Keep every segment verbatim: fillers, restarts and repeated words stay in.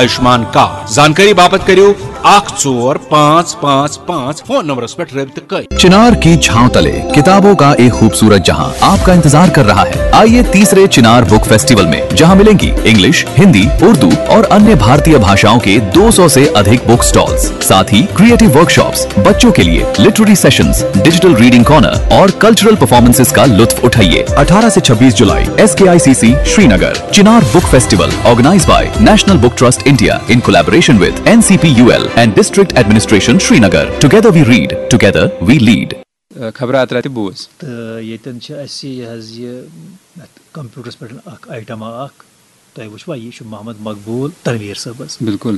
Ayushman card. زانکٲری باپتھ کٔرِو اکھ ژور پانٛژھ پانٛژھ پانٛژھ فون نمبرس پٮ۪ٹھ رٲبطہٕ کٔرِتھ۔ چنار کی چھاؤں تلے، کتابوں کا ایک خوبصورت جہاں آپ کا انتظار کر رہا ہے। आइए तीसरे चिनार बुक फेस्टिवल में, जहां मिलेंगी इंग्लिश, हिंदी, उर्दू और अन्य भारतीय भाषाओं के दो सौ से अधिक बुक स्टॉल्स, साथ ही क्रिएटिव वर्कशॉप्स, बच्चों के लिए literary sessions, digital reading corner और कल्चरल परफॉर्मेंसेस का लुत्फ उठाइए। अठारह से छब्बीस जुलाई, SKICC Srinagar. Chinar book festival, organise by national book trust India, in collaboration with NCPUL and district administration Srinagar. Together we read, together we lead. خبرات راتہِ بوز۔ تہٕ ییٚتٮ۪ن چھِ اَسہِ یہِ حظ یہِ اَتھ کَمپیوٗٹرَس پٮ۪ٹھ اَکھ آیٹَما اَکھ، تۄہہِ وٕچھوا، یہِ چھُ محمد مقبوٗل تنویٖر صٲبَس۔ بِلکُل۔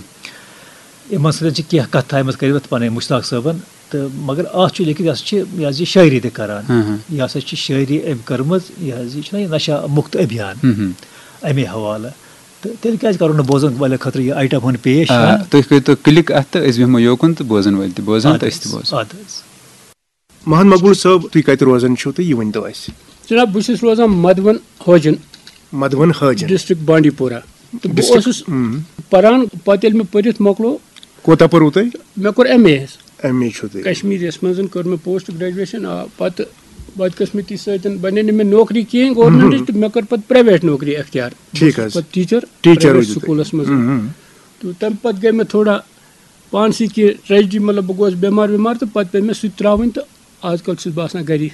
یِمَن سۭتۍ چھِ کینٛہہ کَتھٕ تھایمَژٕ کٔرِتھ پَنٕنۍ مُشتاق صٲبَن، تہٕ مگر اَتھ چھُ لیکھِتھ، یہِ ہسا چھِ یہِ حظ یہِ شٲعری تہِ کَران۔ ہاں، ہاں۔ یہِ ہسا چھِ شٲعری أمۍ کٔرمٕژ، یہِ حظ یہِ چھُنہ یہِ نشہ مُکت ابھیان، ہم، ہم۔ اَمے حوالہٕ۔ تہٕ تیٚلہِ کیٛازِ کَرو نہٕ بوزَن والٮ۪ن خٲطرٕ یہِ آیٹَم ہُنٛد پیش؟ آ، ہاں؟ تُہۍ کٔرۍتو کِلِک اَتھ تہٕ أسۍ بیٚہمو یوکُن تہٕ بوزَن وٲلۍ تہِ بوزَن اَدٕ تہٕ أسۍ تہِ حظ، بوزو۔ اَدٕ حظ۔ محمد مقبول صٲب، تُہۍ کَتہِ روزان چھِو تہٕ یہِ ؤنۍ تو اَسہِ۔ جناب، بہٕ چھُس روزان مدوَن حٲجِن، مدوَن حٲجِن۔ ڈسٹرکٹ بانڈی پورہ۔ تہٕ بہٕ ڈسٹرکٹ، اوسُس اۭں۔ پران، پتہٕ ییٚلہِ مےٚ پٔرِتھ مۄکلو، کوٗتاہ پوٚروٕ تۄہہِ؟ مےٚ کوٚر ایم اے حظ۔ ایم اے چھُو تُہۍ۔ کشمیٖریَس منٛز کٔر مےٚ پوسٹ گریجویشن، آ، پتہٕ بدقٕسمتی سۭتۍ بنے نہٕ مےٚ نوکری کِہیٖنۍ گورمینٹٕچ، تہٕ مےٚ کٔر پتہٕ پرایویٹ نوکری اختیار۔ ٹھیٖک حظ۔ پتہٕ ٹیٖچر ٹیٖچر پرایویٹ روٗزِو تُہۍ۔ سکوٗلس منٛز۔ اۭں۔ تہٕ تَمہِ پتہٕ گٔے مےٚ تھوڑا پانسٕے کینٛہہ ٹریجڈی، مطلب بہٕ گوس بٮ۪مار وٮ۪مار، تہٕ پتہٕ پیٚیہِ مےٚ سُہ تہِ ترٛاوٕنۍ، تہٕ آز کل چھُس بہٕ آسان گری۔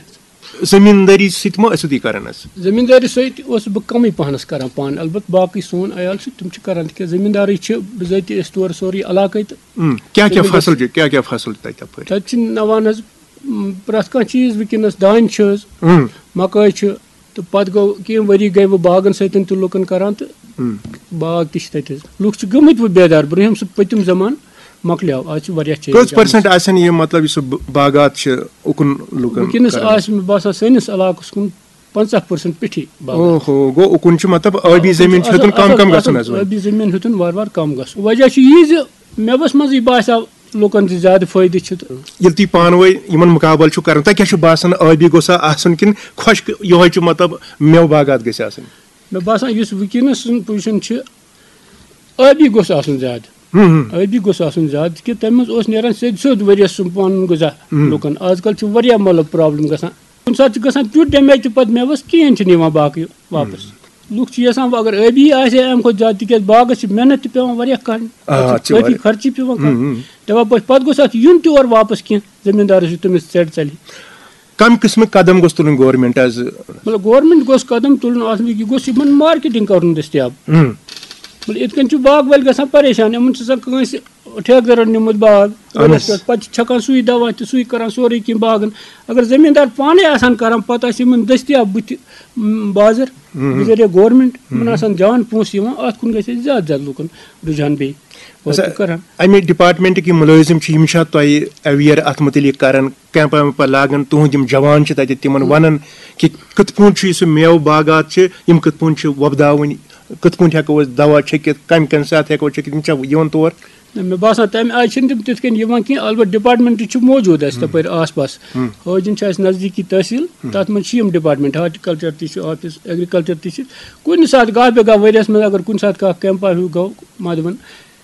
زٔمیٖندٲری سۭتۍ ما ٲسِو تُہۍ کران حظ؟ زٔمیٖندٲری سۭتۍ اوسُس بہٕ کمٕے پہنس کران پانہٕ، البتہٕ باقٕے سون عیال چھُ، تِم چھِ کران، تِکیازِ زٔمیٖندارٕے چھِ بِذٲتی أسۍ تورٕ سورُے علاقے، تہٕ اۭں۔ کیٛاہ کیٛاہ زٔمیٖندار فصل چھِ، کیٛاہ کیٛاہ فصل چھِ تۄہہِ تَپٲرۍ؟ تَتہِ چھِ نَوان حظ، م، پرٛٮ۪تھ کانٛہہ چیٖز وٕنکیٚنَس، دانہِ چھِ حظ، اۭں۔ مکٲے چھِ، تہٕ پَتہٕ گوٚو کینٛہہ ؤری گٔے وۄنۍ باغَن سۭتۍ تہِ لُکَن کَران، تہٕ اۭں۔ باغ تہِ چھِ تَتہِ حظ۔ لُکھ چھِ گٔمٕتۍ وۄنۍ بیدار، برٛونٛہِم سُہ پٔتِم زمانہٕ مۄکلیو، آز چھِ واریاہ چینج کٔژ آمٕژ۔ پٔرسنٹ آسن یِم، مطلب، یُس سُہ ب-، باغات چھِ اُکُن لُکَن وٕنکیٚنَس کران؟ آسہِ مےٚ باسان سٲنِس علاقَس کُن پنٛژاہ پٔرسنٹ پیٚٹھی باغات۔ اوہو، گوٚو اُکُن چھُ، مطلب، ٲبی زٔمیٖن چھِ ہیوٚتُن کم کم گژھُن حظ وۄنۍ۔ ٲبی زٔمیٖن ہیوٚتُن وارٕ وارٕ کم گژھُن۔ وجہ چھُ یی زِ مےٚ وَس منٛزٕے باسیو لُکَن زِ زیادٕ فٲیدٕ چھُ، تہٕ ییٚلہِ تُہۍ پانہٕ ؤنۍ یِمن مُقابلہٕ چھِو کران، تۄہہِ کیٛاہ چھُ باسان، ٲبی گوٚژھا آسُن کِنہٕ خۄشک یِہوٚے چھُ، مطلب، مٮ۪وٕ باغات گٔژھۍ آسٕنۍ؟ مےٚ باسان یُس وٕنکیٚنَس سُنٛد پُزِشَن چھِ، ٲبی گوٚژھ آسُن زیادٕ۔ ہُم، ہُم۔ ٲبی گوٚژھ آسُن زیادٕ، کہِ تَمہِ منٛز اوس نیران سیٚدِ سیوٚد ؤریَس سُنٛد پَنُن غذا ہُم۔ لُکَن۔ آز کل چھُ واریاہ، مطلب، پرابلم گژھان۔ کُنہِ ساتہٕ چھُ گژھان تیُتھ ڈیمیج تہِ، پَتہٕ مےٚ وَس کِہیٖنۍ چھُنہٕ یِوان باقٕے واپَس۔ لُکھ چھِ یَژھان وۄنۍ اگر ٲبی آسہِ ہے اَمہِ کھۄتہٕ زیادٕ، تِکیٛازِ باغَس چھِ محنت تہِ پٮ۪وان واریاہ کَرٕنۍ، آ، اَتھ اَتھ چھِ چھِ کٲفی واریاہ۔ خرچہٕ پٮ۪وان کَرُن۔ ہُم، ہُم۔ دَپان پَتہٕ، پَتہٕ گوٚژھ اَتھ یُن تہِ اورٕ واپَس کینٛہہ زٔمیٖندارَس یُتھ تٔمِس ژٮ۪ڈ ژَلہِ۔ کم قٕسمٕکۍ قدم گوٚژھ تُلُن گورمنٹ حظ؟ مطلب، گورمنٹ گوٚژھ قدم تُلُن اَتھ منٛز، یہِ گوٚژھ یِمَن مارکیٹِنٛگ کَرُن دٔستیاب۔ ہُم۔ مطلب، یِتھ کٔنۍ چھُ باغ وٲلۍ گژھان پریشان، یِمَن چھُ آسان کٲنٛسہِ ٹھیکہٕ دَرَن نیوٗمُت باغ اَہَن ؤریَس حظ۔ پٮ۪ٹھ، پَتہٕ چھِ چھَکان سُے دَوا تہِ، سُے کَران سورُے کینٛہہ باغَن۔ اگر زٔمیٖندار پانَے آسہٕ ہَن کَران، پَتہٕ آسہِ یِمَن دٔستیاب بٕتھِ، م، بازر، بذریعہ گورمنٹ، یِمَن آسان جان پونٛسہٕ یِوان، اَتھ کُن گژھِ ہے زیادٕ زیادٕ لوٗکَن رُجحان بیٚیہِ۔ اچھا، وٲتِو کَران۔ اَمہِ ڈپارٹمنٹ کہِ مُلٲزِم چھِ، یِم چھا تۄہہِ اویئر اَتھ مُتعلِق کران، کیمپہٕ ویمپہٕ لاگان، تُہُنٛد یِم جوان چھِ تَتہِ تِمن وَنان کہِ کِتھ پٲٹھۍ چھُ یُس یہِ مٮ۪وٕ باغات چھِ، یِم کِتھ پٲٹھۍ چھِ وۄپداوٕنۍ، کِتھ پٲٹھۍ ہٮ۪کو أسۍ دوا چھٔکِتھ، کَمہِ کَمہِ ساتہٕ ہٮ۪کو چھٔکِتھ، یِم چھا یِوان تور؟ نہ، مےٚ باسان تَمہِ آیہِ چھِنہٕ تِم تِتھ کٔنۍ یِوان کینٛہہ، البتہ ڈپارٹمنٹ چھِ موجوٗد اَسہِ تَپٲرۍ آس پاس۔ حٲجِن چھِ اَسہِ نزدیٖکی تحصیٖل، تَتھ منٛز چھِ یِم ڈپارٹمنٹ، ہارٹیکلچر تہِ چھُ آفِس، ایگریکلچر تہِ چھِ۔ کُنہِ ساتہٕ گاہ بے گاہ ؤریَس منٛز اگر کُنہِ ساتہٕ کانٛہہ کیمپا ہیوٗ گوٚو مدوُن،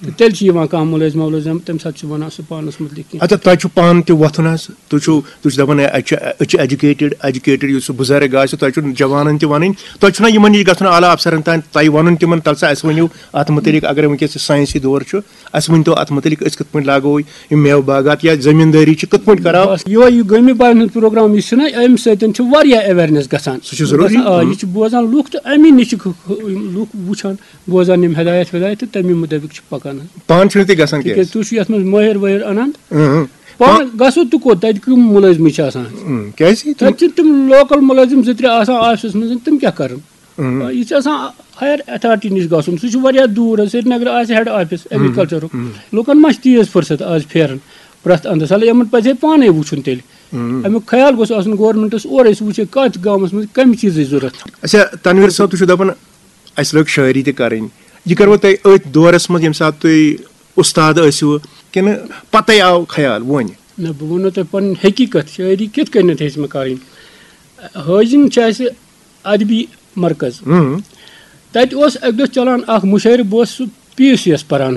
تہٕ تیٚلہِ چھِ یِوان کانٛہہ مُلٲزِم وُلٲزِم، تَمہِ ساتہٕ چھِ وَنان سُہ پانَس مُتعلِق کینٛہہ۔ اچھا، تۄہہِ چھُ پانہٕ تہِ وۄتھُن حظ، تُہۍ چھِو، تُہۍ چھِو دَپان، ہے، اَتہِ چھِ، أسۍ چھِ ایجوکیٹڈ، ایجوکیٹڈ، یُس سُہ بُزرگ آسہِ، تۄہہِ چھُو جوانَن تہِ وَنٕنۍ، تۄہہِ چھُنہ یِمَن نِش گژھُن اعلیٰ افسرَن تام، تۄہہِ وَنُن تِمَن، تَلہٕ سا اَسہِ ؤنِو اَتھ مُتعلِق، اگر وٕنکیٚس یہِ ساینسی دور چھُ، اَسہِ ؤنۍ تو اَتھ مُتعلِق، أسۍ کِتھ پٲٹھۍ لاگو یِم مٮ۪وٕ باغات یا زٔمیٖندٲری چھِ کِتھ پٲٹھۍ کَرو؟ بس یِہوٚے یہِ گٲمی بارَن ہُنٛد پروگرام یُس چھُنہ، اَمہِ سۭتۍ چھُ واریاہ اویرنیس گژھان۔ سُہ چھُ ضروٗری۔ گژھان، آ، ہُم۔ یہِ چھُ بوزان لُکھ، تہٕ اَمی نِش چھِ خ-، خ-، لُکھ وٕچھان، بوزان یِم ہدایت ودایت، تہٕ تَمی مُطٲبِق چھِ پَکان۔ پانہٕ چھِو نہٕ تُہۍ گژھان کینٛہہ؟ تِکیٛازِ تُہۍ چھِو یَتھ منٛز مٲہِر وٲہِر اَنان۔ اۭں۔ پانہٕ گژھو تہٕ کوٚت؟ تَتہِ کٕم مُلٲزمٕے چھِ آسان؟ اۭں، کیٛازِ؟ تَتہِ چھِ تِم لوکل مُلٲزِم زٕ ترٛےٚ آسان آفسَس منٛز، تِم کیٛاہ کَرَن؟ یہِ چھِ آسان ہایَر اتھارٹی نِش گژھُن، سُہ چھُ واریاہ دوٗر حظ، سرینگرٕ آسہِ ہیڈ آفس ایگریکلچرُک۔ لُکن ما چھِ تیٖژ فرصت آز پھیران پرٛٮ۪تھ اندس؟ ہلا یِمن پزِ ہے پانے وٕچھُن تیٚلہِ۔ امیُک خیال گوٚژھ آسُن گورنمنٹس اورے، سُہ وٕچھِ ہے کتھ گامس منٛز کمہِ چیٖزٕچ ضروٗرت۔ اچھا، تنویر صٲب، تُہۍ چھِو دپان اسہِ لٔگ شٲعری تہِ کرٕنۍ، یہِ کروٕ تۄہہِ أتھۍ دورس منٛز ییٚمہِ ساتہٕ تُہۍ استاد ٲسِو کِنہٕ پتے آو خیال وۄنۍ؟ نہ، بہٕ وَنو تۄہہِ پنٕنۍ حقیٖقت، شٲعری کِتھ کٔنٮ۪تھ ہیٚچھ مےٚ کرٕنۍ۔ حٲجِن چھِ اسہِ ادبی مرکز۔ تتہِ اوس اکہِ دۄہ چلان اکھ مُشٲعرٕ، بہٕ اوسُس سُہ پی یوٗ سی یَس پَران